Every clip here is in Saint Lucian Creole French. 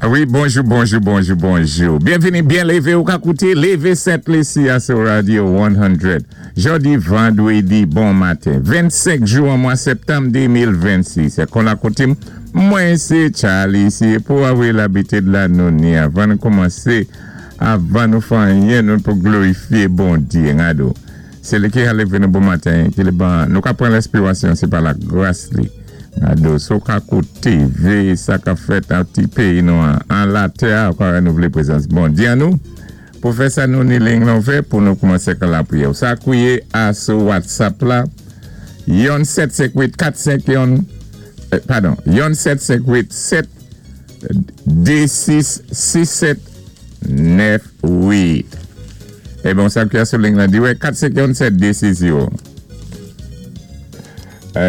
Wi, bonjou, bonjou, bonjou, bonjou. Byenvini, byen lévé ou ka kouté Lévé Sent Lisi a sou Radio 100. Jòdi vandwédi bon maten. 25 jou an mwa sèptanm 2026. Kon la koutim, mwen sé Charlie isi pou avwe labitid la nou ni avan nou kòmansé, avan nou fè anyen nou pou glorifié Bondyé. Gado. Sé li ki ka lévé nou bon maten, ki li ban, nou ka pran lèspirasyon, sé pa la gras li. Gado, so ka kouté, véyé sa ka fèt an ti péyi nou an, an latè a, kwa nou vlé prézans Bondyé an nou. Pou fè sa nou ni liy lan ouvè pou nou kòmansé kan lapriyè. Ou sa kwiyé a sou WhatsApp la, yon 7 5 8 4 5 yon, padon, yon 7 5 8 7 2 6 6 7 9 8. Eh bon, sa ki a sou liy lan di wè 4 5 1 7 2 6 0.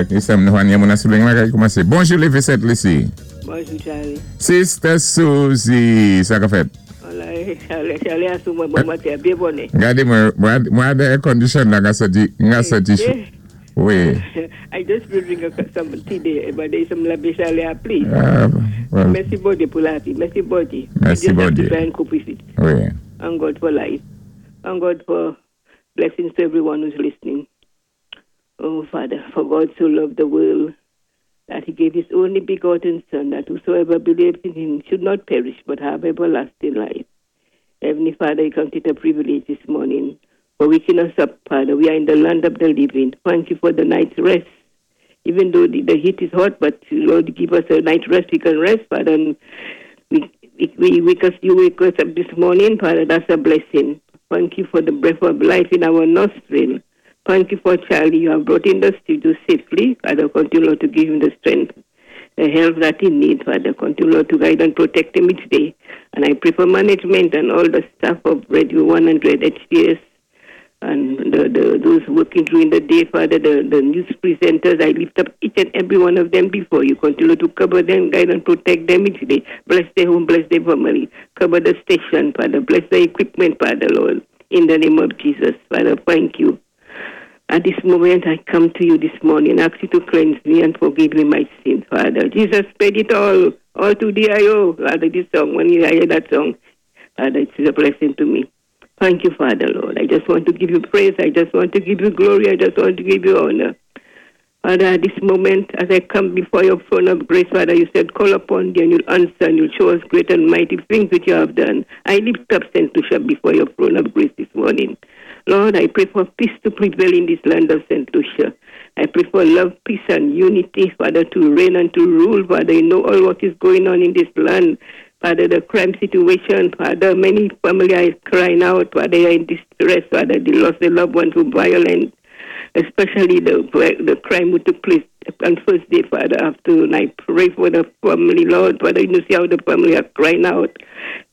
Ki sa nou anye moun sou liy lan ka kòmansé. Bonjou Lévé Sent Lisi. Bonjou Charlie. Sister Suzy, sa ka fèt? Wala, Charlie, Charlie a sou mwen bon maten, byen bonè. Gadé mwen, mwen, mwen air condition la, nga soti, nga soti cho. Wi. I just will drink some tea there, but there's some labi Charlie, please. Ah, well, Mèsi Bondyé pou lavi. Mèsi Bondyé. Mèsi We just have Bondyé. to try and cope with it. Wi. And God for life. And God for blessings to everyone who's listening. Oh, Father, for God so loved the world that he gave his only begotten Son, that whosoever believes in him should not perish but have everlasting life. Heavenly Father, you count it a privilege this morning for waking us up, Father. We are in the land of the living. Thank you for the night's rest. Even though the heat is hot, but Lord, give us a night rest. We can rest, Father. And we wake us, you wake us up this morning, Father. That's a blessing. Thank you for the breath of life in our nostril. Thank you for Charlie. You have brought in the studio safely. Father, continue, Lord, to give him the strength, the help that he needs, Father. Continue, Lord, to guide and protect him each day. And I pray for management and all the staff of Radio 100 HTS and those working during the day, Father, the news presenters. I lift up each and every one of them before you. Continue to cover them, guide and protect them each day. Bless their home, bless their family. Cover the station, Father. Bless the equipment, Father, Lord. In the name of Jesus, Father, thank you. At this moment, I come to you this morning, ask you to cleanse me and forgive me my sins, Father. Jesus paid it all to the I.O. Father, this song, when you hear that song, Father, it's a blessing to me. Thank you, Father, Lord. I just want to give you praise. I just want to give you glory. I just want to give you honor. Father, at this moment, as I come before your throne of grace, Father, you said, call upon thee and you'll answer and you'll show us great and mighty things which you have done. I lift up St. Lucia before your throne of grace this morning. Lord, I pray for peace to prevail in this land of St. Lucia. I pray for love, peace, and unity, Father, to reign and to rule. Father, you know all what is going on in this land. Father, the crime situation, Father, many families are crying out, Father, they are in distress, Father, they lost their loved ones to violence, especially the crime which took place on first day, Father, afternoon. I pray for the family, Lord, Father, you see how the family are crying out.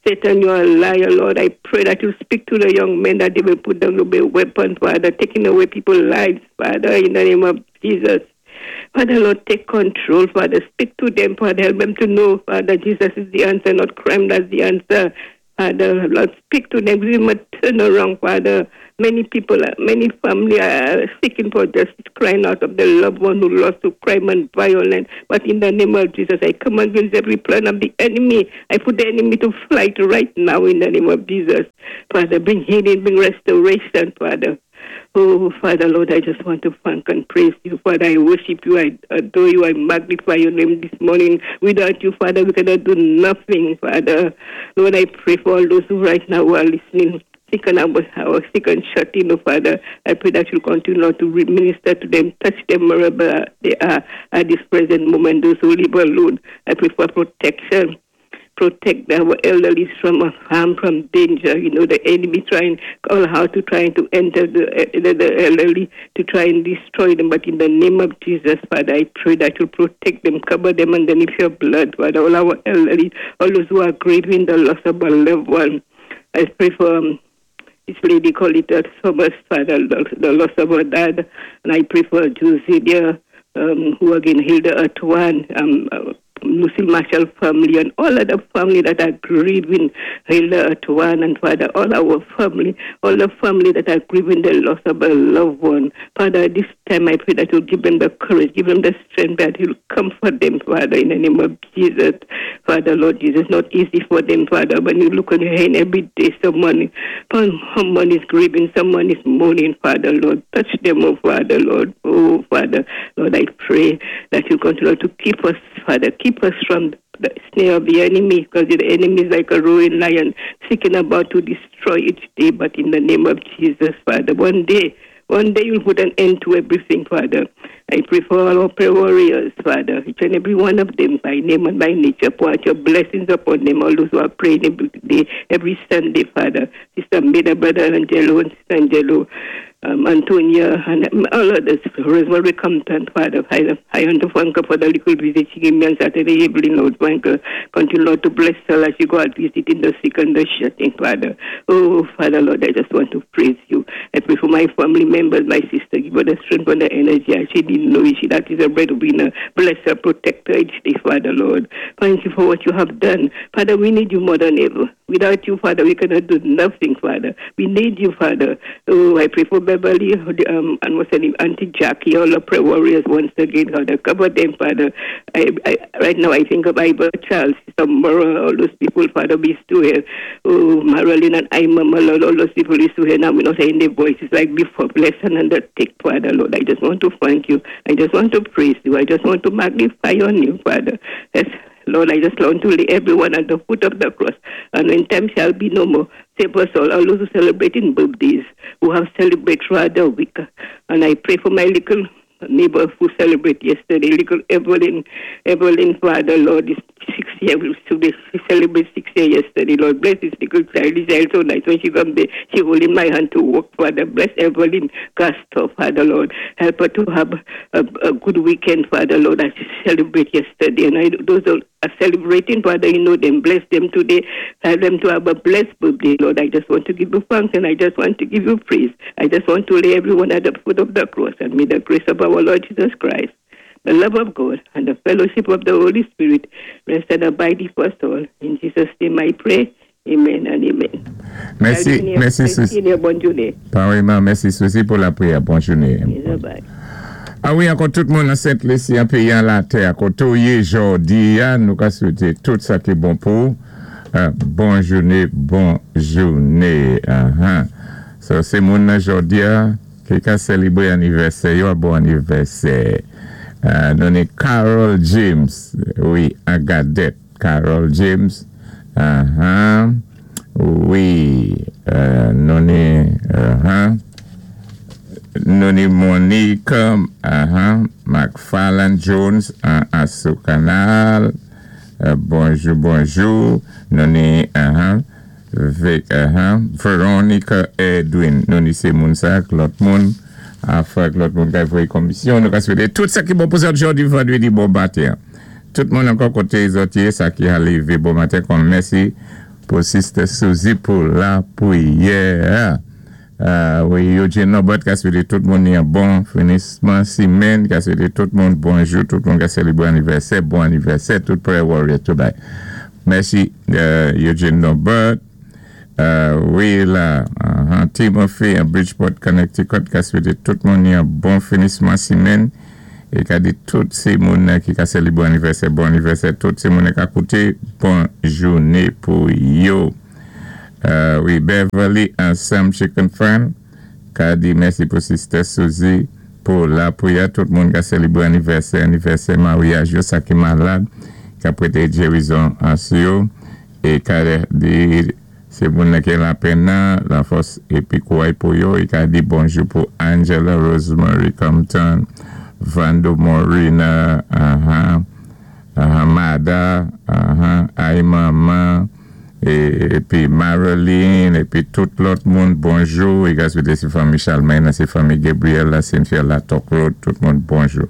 Satan, you are a liar, Lord. I pray that you speak to the young men, that they will put down the weapons, Father, taking away people's lives, Father, in the name of Jesus. Father, Lord, take control, Father. Speak to them, Father. Help them to know, Father, Jesus is the answer, not crime, that's the answer. Father, Lord, speak to them. Give them a turn around, Father. Many people, many families are seeking for justice, crying out of the loved one who lost to crime and violence. But in the name of Jesus, I come against every plan of the enemy. I put the enemy to flight right now in the name of Jesus. Father, bring healing, bring restoration, Father. Oh, Father, Lord, I just want to thank and praise you. Father, I worship you. I adore you. I magnify your name this morning. Without you, Father, we cannot do nothing, Father. Lord, I pray for all those who right now are listening, sick and our sick and shut in, oh, Father. I pray that you'll continue, Lord, to minister to them, touch them wherever they are at this present moment, those who live alone. I pray for protection. Protect our elderly from harm, from danger. You know, the enemy trying all how to trying to enter the elderly to try and destroy them. But in the name of Jesus, Father, I pray that you protect them, cover them underneath your blood, Father. All our elderly, all those who are grieving the loss of a loved one. I pray for this lady called it Thomas, Father, the loss of her dad. And I pray for Josie there, who again Hilda Atwan, Lucille Marshall family, and all other family that are grieving Hilda Atwan, and Father, all our family, all the family that are grieving the loss of a loved one. Father, this time I pray that you'll give them the courage, give them the strength, that you'll comfort them, Father, in the name of Jesus. Father, Lord Jesus, not easy for them, Father. When you look on your hand every day, someone is grieving, someone is mourning, Father, Lord. Touch them, oh Father, Lord. Oh, Father, Lord, I pray that you continue to keep us, Father, keep us from the snare of the enemy, because the enemy is like a roaring lion seeking about to destroy each day. But in the name of Jesus, Father, one day you'll put an end to everything, Father. I pray for all our prayer warriors, Father, each and every one of them by name and by nature. Pour out your blessings upon them, all those who are praying every day, every Sunday, Father. Sister Meda, Brother Angelo, and Sister Angelo, Antonia, and all others. Rosemary Compton, Father. I want to thank her for the little visit she gave me on Saturday evening, Lord. Thank her. Continue, Lord, to bless her as she go out visiting the sick and the shut in, Father. Oh, Father, Lord, I just want to praise you. I pray for my family members, my sister. Give her the strength and the energy. As she didn't know it. She that is a breadwinner. Bless her, protect her each day, Father, Lord. Thank you for what you have done. Father, we need you more than ever. Without you, Father, we cannot do nothing, Father. We need you, Father. Oh, I pray for Beverly and what's her name, Auntie Jackie, all the prayer warriors once again, Father. Cover them, Father. Right now, I think of Ivor Charles, Sister Mara, all those people, Father, be still here. Oh, Marilyn and Ima, Lord, all those people is still here now. We're not hearing their voices like before. Bless and undertake, Father, Lord. I just want to thank you. I just want to praise you. I just want to magnify your name, Father. Yes, Lord, I just want to lay everyone at the foot of the cross. And when time shall be no more, save us all those who celebrating birthdays, who have celebrated throughout the week. And I pray for my little neighbor who celebrated yesterday, little Evelyn, Evelyn, Father, Lord, is 6 years, today she celebrated 6 years yesterday. Lord, bless this little child. This child so nice. When she come there, she holding my hand to walk, Father. Bless Evelyn Castor, Father, Lord. Help her to have a good weekend, Father, Lord, as she celebrate yesterday. And those who are celebrating, Father, you know them. Bless them today. Help them to have a blessed birthday, Lord. I just want to give you thanks and I just want to give you praise. I just want to lay everyone at the foot of the cross, and may the grace of our Lord Jesus Christ, the love of God, and the fellowship of the Holy Spirit rest and abide with us all. In Jesus' name I pray. Amen and amen. Mèsi, mèsi, Suzy. Bòn jounen. Pareillement, mèsi, Suzy, pou lapwiyè. Bòn jounen. Bye. A wi, ankò tout moun an Sent Lisi, an péyi an latè, koté ou yé jòdi a, nou ka swété tout sa ki bon pou bon jounen, bon jounen. So, sé moun nan jòdi a, ki ka sélébwé anivèsè, yo bon anivèsè. Nou ni Carol James, wi, an Gadette. Carol James, wi, nou ni, nou ni Monique McFarland Jones an Anse Au Canal. Bonjou, bonjou. Nou ni Veronica Edwin. Nou ni sé moun sa, lòt moun. Afè lòt moun ka voyé komisyon. Nou ka swété tout sa ki bon pou zòt jòdi vandwédi bon maten. Tout moun ankò koté zòt yé sa ki a lévé bon maten kon mèsi pou Sister Suzy pou lapwiyè. Wi, Eugene Norbert ka swété tout moun yon bon finisman simèn, ka swété tout moun bonjou, tout moun ka sélébwé anivèsè, bon anivèsè, tout prayer warrior tout bay. Mèsi Eugene Norbert. Wi la, Timothy an Bridgeport, Connecticut, ka swété tout moun yon bon finisman simèn é ka di tout sé moun ki ka sélébwé anivèsè, bon anivèsè, tout sé moun ka kouté, bon jounen pou yo. Wi, Beverly ansanm Chicken Fan, ka di mèsi pou Sister Suzy, pou lapwiyè, tout moun ka sélébwé anivèsè, anivèsè maryaj yo, sa ki malad, ka pwété gérizon an sou yo, é ka di sé moun ki lapenn nan, lafòs épi kouway pou yo, é ka di bonjou pou Angela Rosemary Compton, Vando Morina, Mada, Ay Mama, épi Marilyn, épi tout lòt moun, bonjou, é ka swété sé fanmi Charlemagne, sé fanmi Gabriel, Cynthia la Talk Road, tout moun bonjou.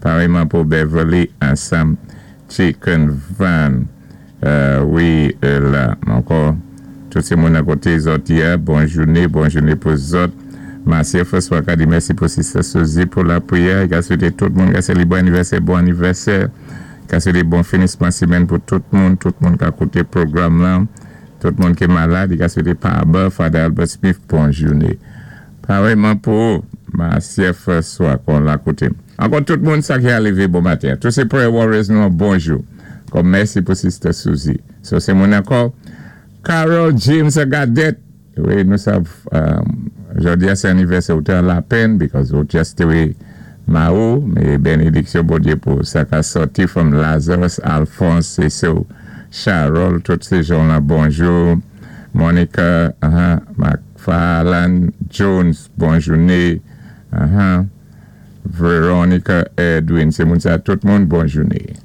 Pareillement pou Beverly, ansanm Chicken Van, wi, la, ankò, tout sé moun akoté zòt yé, bon jounen, bon jounen pou zòt. Marcia François ka di mèsi pou Sister Suzy pou lapwiyè, ka swété tout moun ka sélébwé anivèsè, bon anivèsè, ka swété bon finisman simèn pou tout moun ka kouté pwogram lan, tout moun ki malad, ka swété pa Father Albert Smith, bon jounen. Pareillement pou Marcia François kon la kouté. Ankò tout moun sa ki a lévé bon maten. Tout sé prayer warriors nou bonjou. Kòm mèsi pou Sister Susie. So, sé moun ankò. Carol James Gadet. Wi, nou sav, jòdi a sé anivèsè ou té an lapèn because ou just té Mao, mé bénédiksyon Bondyé pou sa ka sòti from Lazarus, Alphonse, Cecil, Charol, tout sé jan-la, bonjou. Monica, McFarland Jones, bon jouné. Veronica Edwin, sé moun sa tout moun, bon jouné.